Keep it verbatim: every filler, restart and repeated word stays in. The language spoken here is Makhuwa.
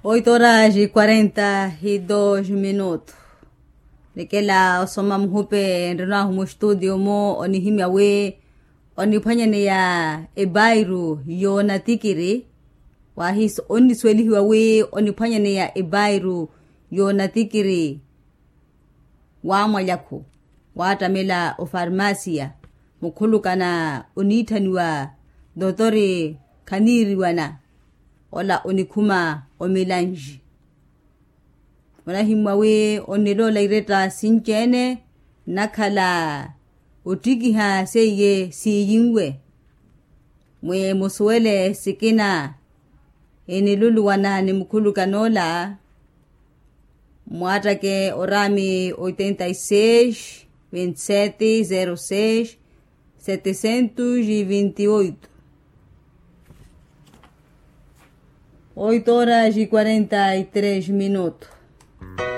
Oito horas e quarenta e dois minutos. Nikela osoma muhupe nrino ahu mustutio mu onihimya wi oniphwanyaneya ebairu yoonatikiri. Wahiso onnisuwelihiwa wi oniphwanyaneya ebairu yoonatikiri wamwalyakhu waattamela ofarmasiya mukhulukana oniitthaniwa dotori khaniiriwana ola onikhuma omilanji. Onahimmwa wi onniloola iretta sinci-ene nnakhala ottikiha seiye siiyinwe mwi musuwele sikina eniluluwana ni mukhulukan'ola. Mwattake oraami oitenta e seis vinte e sete zero seis setecentos e vinte e oito. Oito horas e quarenta e três minutos.